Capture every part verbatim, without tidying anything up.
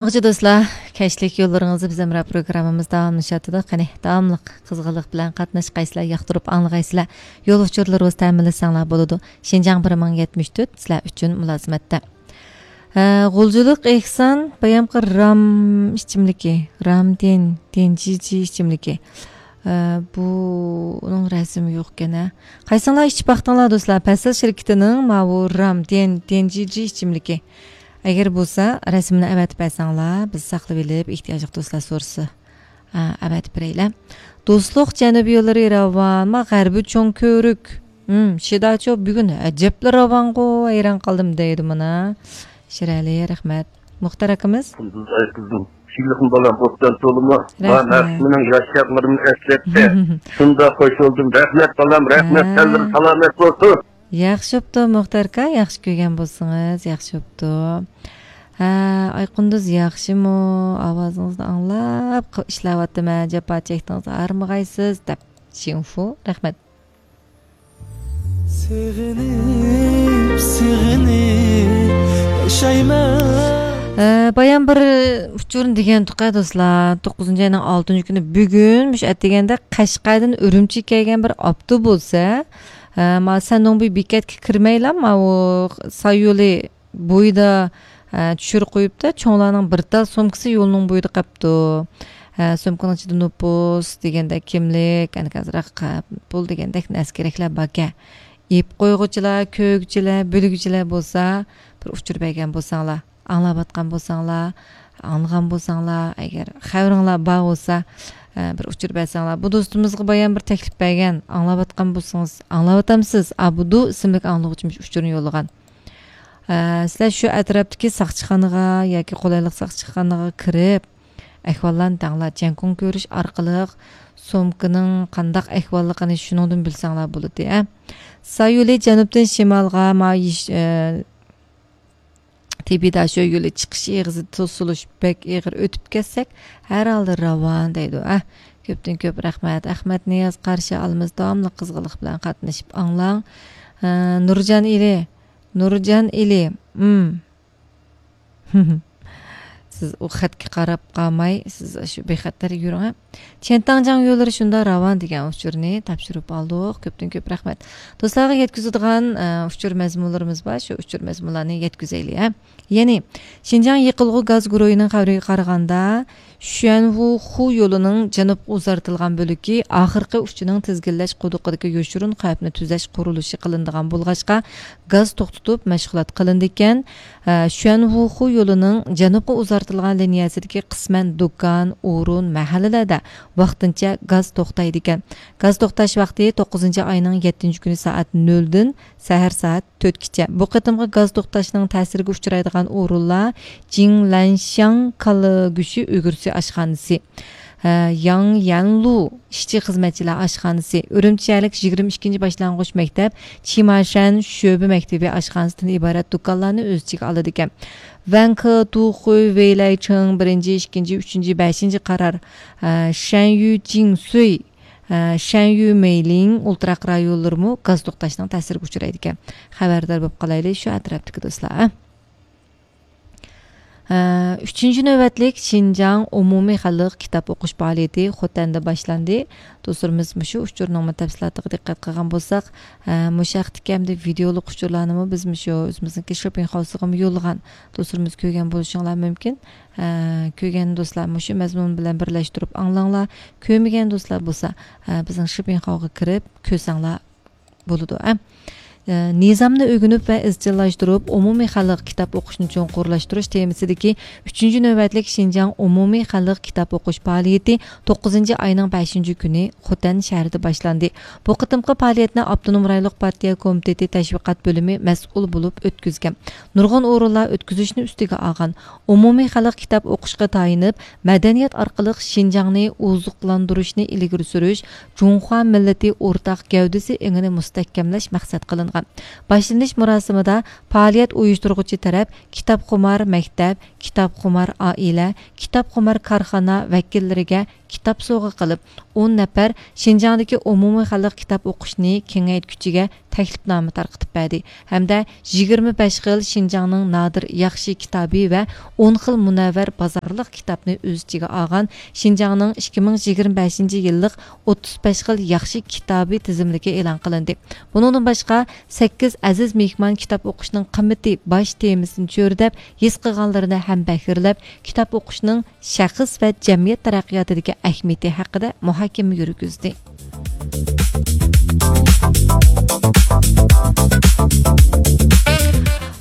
ياخشى دوستلار، كەچلىك يوللىرىڭىزدا بىز ھەمراھ پروگراممىمىز داۋاملىشىۋاتىدۇ. قېنى، داۋاملىق قىزغىنلىق بىلەن قاتناشقايسىلەر، ياقتۇرۇپ ئاڭلىغايسىلەر. يول ئۇچۇرلىرىڭىز تەمىنلىسەڭلار بولىدۇ. شىنجاڭ بىر مىڭ يەتمىش تۆت سىلەر ئۈچۈن مۇلازىمەتتە. ھە، غۇلجىلىق ئېھسان بايامقى رام ئىچىملىكى، رام دىن، دىنجىجى ئىچىملىكى. ھە، بۇنىڭ رەسىمى يوقكەن، ھە. قايسىڭلار ئىچىپ باقتىڭلار دوستلار؟ پەسىل شىركىتىنىڭ ماۋۇ رام دىن، دىنجىجى ئىچىملىكى. ئەگەر بولسا، رەسىمنى ئەۋەتىپ بەرسەڭلار، بىز ساقلىۋېلىپ، ئېھتىياجلىق دوستلار سورىسا، ئا، ئەۋەتىپ بېرەيلى. دوستلۇق جەنۇبىي يوللىرى راۋان، ما غەربىي چوڭ كۆۋرۈك. ھىم، شىداچو بۈگۈن ئەجەبلا راۋانغۇ، ھەيران قالدىم دەيدۇ مانا. شىرئەلى، رەھمەت. مۇختەر ئاكىمىز. قۇندۇز ئايقىزىم، شىلىقىم بالام، ئوبدان تولىما. رەھمەت. مانا مېنىڭ ياش چاغلىرىمنى ئەسلەتتى. شۇنداق خوش بولدۇم. رەھمەت بالام، رەھمەت. ھە. تەنلىرىڭ سالامەت بولسۇن. ياخشى بوپتۇ، مۇختەر ئاكا، ياخشى كۆرگەن بولسىڭىز، ياخشى بوپتۇ. ھە، ئايقۇندۇز ياخشىمۇ؟ ئاۋازىڭىزنى ئاڭلاپ، ق-، ئىشلەۋاتىمەن، جاپا چەكتىڭىز، ھارمىغايسىز، دەپ. شىنفۇ، رەھمەت. سېغىنىپ، سېغىنىپ ياشايمەن. ئە، بايام بىر ئۇچۇرنى دېگەنتۇق، دوستلار. توققۇزىنچى ئاينىڭ ئالتىنچى كۈنى، بۈگۈن مۇشۇ ئەتىگەندە قەشقەردىن ئۈرۈمچىگە كەلگەن بىر ئاپتوبۇس، ھە، ما سەننىڭ بۇ بېكەتكە كىرمەيلا، ماۋۇ سايولى بويىدا، ئە، چۈشۈرۈپ قويۇپتۇ. چوڭلارنىڭ بىر تال سومكىسى يولنىڭ بويىدا قاپتۇ. ئە، سومكىنىڭ ئىچىدە نوپۇس دېگەندەك، كىملىك، ئەنە ئازراق، ئە، پۇل دېگەندەك نەرسە كېرەكلەر باركەن. يەپ قويغۇچىلار، كۆرگۈچىلەر، بىلگۈچىلەر بولسا، بىر ئۇچۇر بەرگەن بولساڭلار، ئاڭلاۋاتقان بولساڭلار، ئاڭلىغان بولساڭلار، ئەگەر خەۋىرىڭلار بار بولسا، ئە، بىر ئۇچۇر بەرسەڭلار. بۇ دوستىمىزغا بايام بىر تەكلىپ بەرگەن، ئاڭلاۋاتقان بولسىڭىز، ئاڭلاۋاتامسىز؟ ئابدۇ ئىسىملىك ئاڭلىغۇچىمىز ئۇچۇرنى يوللىغان. ئە، سىلەر شۇ ئەتراپتىكى ساقچىخانىغا ياكى قولايلىق ساقچىخانىغا كىرىپ، ئەھۋاللارنى دەڭلار. جيەنكۇڭ كۆرۈش ئارقىلىق سومكىنىڭ قانداق ئەھۋاللىقىنى شۇنىڭدىن بىلسەڭلار بولىدۇ، ھە. سايولى جەنۇبتىن شىمالغا ما يىش-، ئە، تىبىداشو يولى چىقىش ئېغىزى توسۇلۇش بەك ئېغىر ئۆتۈپ كەتسەك، ھەر ھالدا راۋان دەيدۇ، ھە. كۆپتىن كۆپ رەھمەت. ئەخمەت نىياز قارشى ئالىمىز، داۋاملىق قىزغىنلىق بىلەن قاتنىشىپ ئاڭلاڭ. ئە، نۇرجان ئېلى، نۇرجان ئېلى، ئىم. سىز ئۇ خەتكە قاراپ قالماي، سىز شۇ بىخەتەر يۈرۈڭ، ھە. چيەنتاڭجياڭ يوللىرى شۇنداق راۋان دېگەن ئۇچۇرنى تاپشۇرۇپ ئالدۇق. كۆپتىن كۆپ رەھمەت. دوستلارغا يەتكۈزىدىغان، ئە، ئۇچۇر مەزمۇنلىرىمىز بار، شۇ ئۇچۇر مەزمۇنلارنى يەتكۈزەيلى، ھە. يەنى، شىنجاڭ يېقىلغۇ گاز گۇرۇھىنىڭ خەۋىرىگە قارىغاندا، شۈەنھۇخۇ يولىنىڭ جەنۇبقا ئۇزارتىلغان بۆلىكى ئاخىرقى ئۇچىنىڭ تىزگىنلەش قۇدۇقىدىكى يوشۇرۇن خەۋپنى تۈزەش قۇرۇلۇشى قىلىنىدىغان بولغاچقا، گاز توختىتىپ مەشغۇلات قىلىنىدىكەن. ئە، شۈەنھۇخۇ يولىنىڭ جەنۇبقا ئۇزارتىلغان لىنىيەسىدىكى قىسمەن دۇكان، ئورۇن، مەھەللىلەردە ۋاقتىنچە گاز توختايدىكەن. گاز توختاش ۋاقتى توققۇزىنچى ئاينىڭ يەتتىنچى كۈنى سائەت نۆلدىن سەھەر سائەت تۆتكىچە. بۇ قېتىمقى گاز توختاشنىڭ تەسىرىگە ئۇچرايدىغان ئورۇنلار جىڭلەنشياڭ كالا گۆشى ئۈگرىسى ئاشخانىسى، ھە، ياڭيەنلۇ ئىشچى خىزمەتچىلەر ئاشخانىسى، ئۈرۈمچى شەھەرلىك يىگىرمە ئىككىنچى باشلانغۇچ مەكتەپ چىماشەن شۆبە مەكتىپى ئاشخانىسىدىن ئىبارەت دۇكانلارنى ئۆز ئىچىگە ئالىدىكەن. ۋەنكې، تۇخۇي، ۋېيلەيچىڭ، بىرىنچى، ئىككىنچى، ئۈچىنچى، بەشىنچى قارار، ھە، شەنيۈ جىڭسۈي، ھە، شەنيۈ مېيلىڭ ئولتۇراق رايونلىرىمۇ گاز توختاشنىڭ تەسىرىگە ئۇچرايدىكەن. خەۋەردار بولۇپ قالايلى شۇ ئەتراپتىكى دوستلار، ھە. ئۈچىنچى نۆۋەتلىك شىنجاڭ ئومۇمىي خەلق كىتاب ئوقۇش پائالىيىتى خوتەندە باشلاندى. دوستلىرىمىز مۇشۇ ئۇچۇرنىڭمۇ تەپسىلاتىغا دىققەت قىلغان بولساق، مۇشۇ ھەقتىكى ھەمدە ۋىدېئولۇق ئۇچۇرلارنىمۇ بىز مۇشۇ ئۆزىمىزنىڭكى شىپىنخاۋسىغىمۇ يوللىغان. دوستلىرىمىز كۆرگەن بولۇشۇڭلار مۇمكىن. كۆرگەن دوستلار مۇشۇ مەزمۇن بىلەن بىرلەشتۈرۈپ ئاڭلاڭلار. كۆرمىگەن دوستلار بولسا، بىزنىڭ شىپىنخاۋغا كىرىپ كۆرسەڭلار بولىدۇ، ئە. ئە، نىزامنى ئۆگىنىپ ۋە ئىزچىللاشتۇرۇپ، ئومۇمىي خەلق كىتاب ئوقۇشنى چوڭقۇرلاشتۇرۇش تېمىسىدىكى ئۈچىنچى نۆۋەتلىك شىنجاڭ ئومۇمىي خەلق كىتاب ئوقۇش پائالىيىتى توققۇزىنچى ئاينىڭ بەشىنچى كۈنى خوتەن شەھىرىدە باشلاندى. بۇ قېتىمقى پائالىيەتنى ئاپتونوم رايونلۇق پارتىيە كومىتېتى تەشۋىقات بۆلۈمى مەسئۇل بولۇپ ئۆتكۈزگەن. نۇرغۇن ئورۇنلار ئۆتكۈزۈشنى ئۈستىگە ئالغان. ئومۇمىي خەلق كىتاب ئوقۇشقا تايىنىپ، مەدەنىيەت ئارقىلىق شىنجاڭنى ئوزۇقلاندۇرۇشنى ئىلگىرى سۈرۈش، جۇڭخۇا مىللىتى ئورتاق گەۋدىسى ئېڭىنى مۇستەھكەملەش مەقسەت قىلىندى. باشلىنىش مۇراسىمىدا پائالىيەت ئۇيۇشتۇرغۇچى تەرەپ كىتابخۇمار مەكتەپ، كىتابخۇمار ئائىلە، كىتابخۇمار كارخانا ۋەكىللىرىگە كىتاب سوۋغا قىلىپ، ئون نەپەر شىنجاڭدىكى ئومۇمىي خەلق كىتاب ئوقۇشنى كېڭەيتكۈچىگە تەكلىپنامە تارقىتىپ بەردى ھەمدە يىگىرمە بەش خىل شىنجاڭنىڭ نادىر ياخشى كىتابى ۋە ئون خىل مۇنەۋۋەر بازارلىق كىتابنى ئۆز ئىچىگە ئالغان شىنجاڭنىڭ ئىككى مىڭ يىگىرمە بەشىنچى يىللىق ئوتتۇز بەش خىل ياخشى كىتابى تىزىملىكى ئېلان قىلىندى. بۇنىڭدىن باشقا، سەككىز ئەزىز مېھمان كىتاب ئوقۇشنىڭ قىممىتى باش تېمىسىنى چۆرىدەپ، ھېس قىلغانلىرىنى ھەمبەھىرلەپ، كىتاب ئوقۇشنىڭ شەخس ۋە جەمئىيەت تەرەققىياتىدىكى ئەھمىيىتى ھەققىدە مۇھاكىمە يۈرگۈزدى.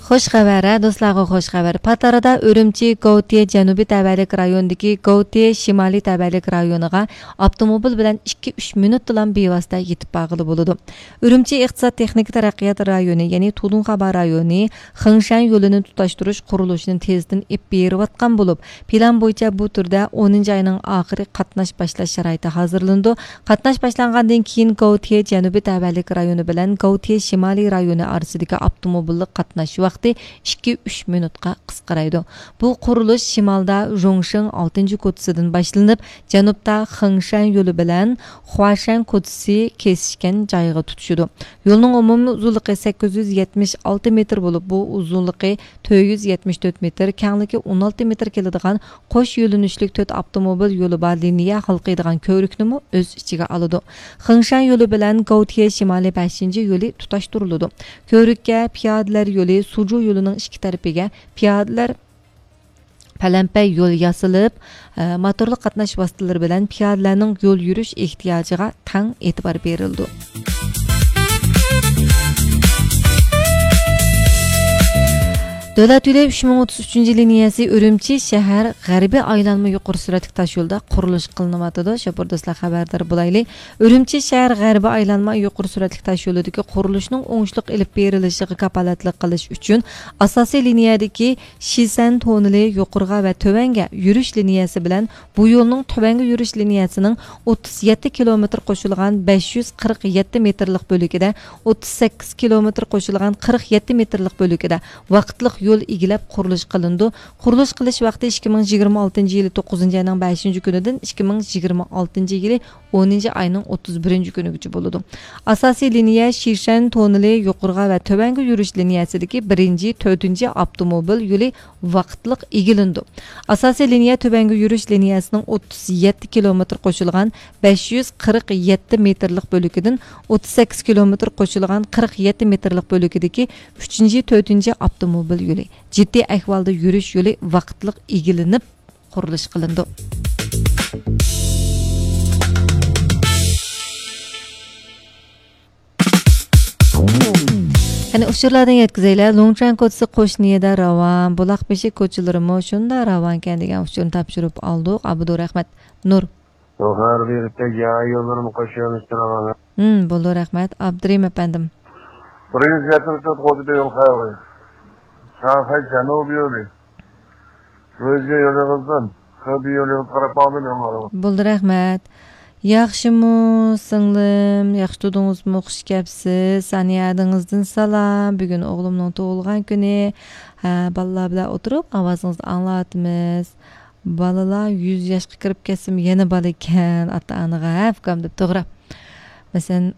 خوش خەۋەر، ھە، دوستلارغا خوش خەۋەر. پاتارىدا ئۈرۈمچى گوۋتيې جەنۇبىي تەۋەلىك رايونىدىكى گوۋتيې شىمالىي تەۋەلىك رايونىغا ئاپتوموبىل بىلەن ئىككى ئۈچ مىنۇتتىلا بىۋاسىتە يېتىپ بارغىلى بولىدۇ. ئۈرۈمچى ئىقتىساد تېخنىكا تەرەققىيات رايونى، يەنى تۇدۇڭخابا رايونى خېڭشەن يولىنى تۇتاشتۇرۇش قۇرۇلۇشىنى تېزدىن ئېلىپ بېرىۋاتقان بولۇپ، پىلان بويىچە بۇ تۈردە ئونىنچى ئاينىڭ ئاخىرى قاتناش باشلاش شارائىتى ھازىرلىنىدۇ. قاتناش باشلانغاندىن كېيىن، گوۋتيې جەنۇبىي تەۋەلىك رايونى بىلەن گوۋتيې شىمالىي رايونى ئارىسىدىكى ئاپتوموبىللىق قاتناش ۋاقتى ئىككى ئۈچ مىنۇتقا قىسقىرايدۇ. بۇ قۇرۇلۇش شىمالدا ژۇڭشېڭ ئالتىنچى كوچىسىدىن باشلىنىپ، جەنۇبتا خېڭشەن يولى بىلەن خۇاشەن كوچىسى كېسىشكەن جايغا تۇتىشىدۇ. يولنىڭ ئومۇمىي ئۇزۇنلۇقى سەككىز يۈز يەتمىش ئالتە مېتىر بولۇپ، بۇ ئۇزۇنلۇقى تۆت يۈز يەتمىش تۆت مېتىر، كەڭلىكى ئون ئالتە مېتىر كېلىدىغان قوش يۆنىلىشلىك تۆت ئاپتوموبىل يولى بار لىنىيە ھالقىيدىغان كۆۋرۈكنىمۇ ئۆز ئىچىگە ئالىدۇ. خېڭشەن يولى بىلەن گوۋتيې شىمالىي بەشىنچى يولى تۇتاشتۇرۇلىدۇ. كۆۋرۈككە پىيادىلەر يولى، سۇجۇ يولىنىڭ ئىككى تەرىپىگە پىيادىلەر پەلەمپەي يول ياسىلىپ، ئە، موتورلۇق قاتناش ۋاسىتىلىرى بىلەن پىيادىلەرنىڭ يول يۈرۈش ئېھتىياجىغا تەڭ ئېتىبار بېرىلىدۇ. دۆلەت يولى ئۈچ مىڭ ئوتتۇز ئۈچىنچى لىنىيەسى ئۈرۈمچى شەھەر غەربىي ئايلانما يۇقىرى سۈرئەتلىك تاش يولىدا قۇرۇلۇش قىلىنىۋاتىدۇ. شوپۇر دوستلار خەۋەردار بولايلى. ئۈرۈمچى شەھەر غەربىي ئايلانما يۇقىرى سۈرئەتلىك تاش يولىدىكى قۇرۇلۇشنىڭ ئوڭۇشلۇق ئېلىپ بېرىلىشىغا كاپالەتلىك قىلىش ئۈچۈن ئاساسىي لىنىيەدىكى شىسەن توننېلى يۇقىرىغا ۋە تۆۋەنگە يۈرۈش لىنىيەسى بىلەن بۇ يولنىڭ تۆۋەنگە يۈرۈش لىنىيەسىنىڭ ئوتتۇز يەتتە كىلومېتىر قوشۇلغان بەش يۈز قىرىق يەتتە مېتىرلىق بۆلىكىدە، ئوتتۇز سەككىز كىلومېتىر قوشۇلغان قىرىق يەتتە مېتىرلىق بۆلىكىدە ۋاقىتلىق يول ئىگىلەپ قۇرۇلۇش قىلىنىدۇ. قۇرۇلۇش قىلىش ۋاقتى ئىككى مىڭ يىگىرمە ئالتىنچى يىلى توققۇزىنچى ئاينىڭ بەشىنچى كۈنىدىن ئىككى مىڭ يىگىرمە ئالتىنچى يىلى ئونىنچى ئاينىڭ ئوتتۇز بىرىنچى كۈنىگىچە بولىدۇ. ئاساسىي لىنىيە شىشەن توننېلى يۇقىرىغا ۋە تۆۋەنگە يۈرۈش لىنىيەسىدىكى بىرىنچى، تۆتىنچى ئاپتوموبىل يولى ۋاقىتلىق ئىگىلىنىدۇ. ئاساسىي لىنىيە تۆۋەنگە يۈرۈش لىنىيەسىنىڭ ئوتتۇز يەتتە كىلومېتىر قوشۇلغان بەش يۈز قىرىق يەتتە مېتىرلىق بۆلىكىدىن ئوتتۇز سەككىز كىلومېتىر قوشۇلغان قىرىق يەتتە مېتىرلىق بۆلىكىدىكى ئۈچىنچى، تۆتىنچى ئاپتوموبىل يولى، جىددىي ئەھۋالدا يۈرۈش يولى ۋاقىتلىق ئىگىلىنىپ، قۇرۇلۇش قىلىنىدۇ. قېنى، ئۇچۇرلاردىن يەتكۈزەيلى. لۇڭچۈەن كوچىسى قوشنىيىدە راۋان، بۇلاق بېشى كوچىلىرىمۇ شۇنداق راۋانكەن دېگەن ئۇچۇرنى تاپشۇرۇپ ئالدۇق. ئابدۇرەھمەت نۇر. يۇقىرى بېرىپتە يا يوللىرىمۇ قوشۇۋېلىشتۇرغان. ھىم، بولدى، رەھمەت. ئابدۇرېھىم ئەپەندىم. بىر يۈز يەتمىش تۆت قوچىدا يول خەۋىرى. شاڭخەي جەنۇبىي يولى. ئۆزگە يولىڭىزدىن خېبېي يولىغا قاراپ ماڭدىم يوللارغا. بولدى، رەھمەت. ياخشىمۇ، سىڭلىم؟ ياخشى تۇردىڭىزمۇ؟ خۇش كەپسىز. سانىيە ئەدىڭىزدىن سالام. بۈگۈن ئوغلۇمنىڭ تۇغۇلغان كۈنى. ھە، بالىلار بىلەن ئولتۇرۇپ، ئاۋازىڭىزنى ئاڭلاۋاتىمىز. بالىلار يۈز ياشقا كىرىپ كەتسىمۇ يەنە بالا ئىكەن، ئاتا-ئانىغا، ھە، ئۇكام دەپ، توغرا. مەسىلەن،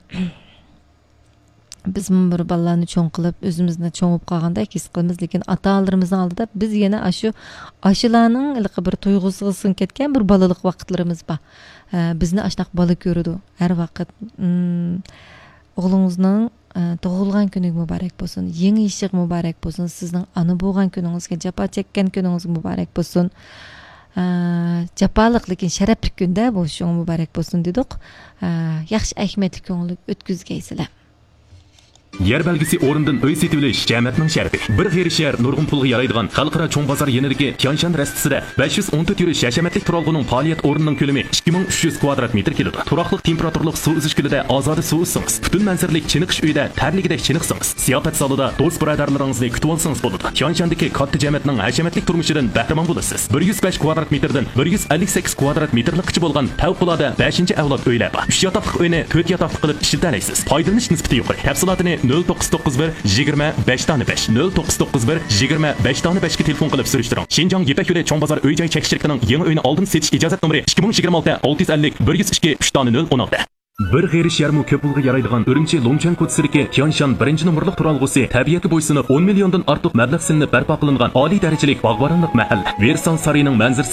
بىزمۇ بىر بالىلارنى چوڭ قىلىپ، ئۆزىمىزنى چوڭ بولۇپ قالغاندەك ھېس قىلىمىز، لېكىن ئاتا-ئانىلىرىمىزنىڭ ئالدىدا بىز يەنە ئاشۇ، ئاشۇلارنىڭ ھېلىقى بىر تۇيغۇسىغا سىڭىپ كەتكەن بىر بالىلىق ۋاقىتلىرىمىز بار. ھە، بىزنى ئاشۇنداق بالا كۆرىدۇ ھەر ۋاقىت. ئىم، ئوغلىڭىزنىڭ، ئە، تۇغۇلغان كۈنىگە مۇبارەك بولسۇن، يېڭى يېشىغا مۇبارەك بولسۇن، سىزنىڭ ئانا بولغان كۈنىڭىزگە، جاپا چەككەن كۈنىڭىزگە مۇبارەك بولسۇن. ئە، جاپالىق، لېكىن شەرەپلىك كۈندە بولۇشىغا مۇبارەك بولسۇن دېدۇق. ئە، ياخشى ئەھمىيەتلىك كۆڭۈللۈك ئۆتكۈزگەيسىلەر. يەر بەلگىسى ئورنىدىن ئۆي سېتىۋېلىش جەمەتنىڭ شەرىپى. بىر غېرىب شەھەر نۇرغۇن پۇلغا يارايدىغان خەلقئارا چوڭ بازار يېنىدىكى تيانشان رەستىسىدە بەش يۈز ئون تۆت يۈرۈش ھەشەمەتلىك تۇرالغۇنىڭ پائالىيەت ئورنىنىڭ كۆلىمى ئىككى مىڭ ئۈچ يۈز كۋادرات مېتىر كېلىدۇ. تۇراقلىق تېمپېراتۇرىلىق سۇ ئۈزۈش كۆلىدە ئازادە سۇ ئۈزسىڭىز، پۈتۈن مەنزىرىلىك چېنىقىش ئۆيىدە تەرلىگۈدەك چېنىقسىڭىز، زىياپەت زالىدا دوست بۇرادەرلىرىڭىزنى كۈتۈۋالسىڭىز بولىدۇ. تيانشاندىكى كاتتا جەمەتنىڭ ھەشەمەتلىك تۇرمۇشىدىن بەھرىمەن بولىسىز. بىر يۈز بەش كۋادرات مېتىردىن بىر يۈز ئەللىك سەككىز كۋادرات مېتىرلىكقىچە بولغان پەۋقۇلئاددە بەشىنچى ئەۋلاد ئۆيلەر بار. ئۈچ ياتاقلىق ئۆينى تۆت ياتاقلىق قىلىپ ئىشلىتەلەيسىز. پايدىلىنىش نىسبىتى يۇقىرى. تەپسىلاتىنى نۆل توققۇز توققۇز بىر يىگىرمە بەش دانە بەش، نۆل توققۇز توققۇز بىر يىگىرمە بەش دانە بەشكە تېلېفون قىلىپ سۈرۈشتۈرۈڭ. شىنجاڭ يىپەك يولى چوڭ بازار ئۆي جاي چەكلىك شىركىتىنىڭ يېڭى ئۆينى ئالدىن سېتىش ئىجازەت نومۇرى ئىككى مىڭ يىگىرمە ئالتە ئالتە يۈز ئەللىك بىر يۈز ئىككى ئۈچ دانە نۆل ئون ئالتە. بىر غېرىش يەرمۇ كۆپ پۇلغا يارايدىغان ئۈرۈمچى لۇڭچەن كوچىسىدىكى تيانشان بىرىنچى نومۇرلۇق تۇرالغۇسى تەبىئەتكە بويسۇنۇپ، ئون مىليوندىن ئارتۇق مەبلەغ سېلىنىپ بەرپا قىلىنغان ئالىي دەرىجىلىك باغۋەنلىك مەھەللە. ۋېرسال سارىيىنىڭ مەنزىرىسى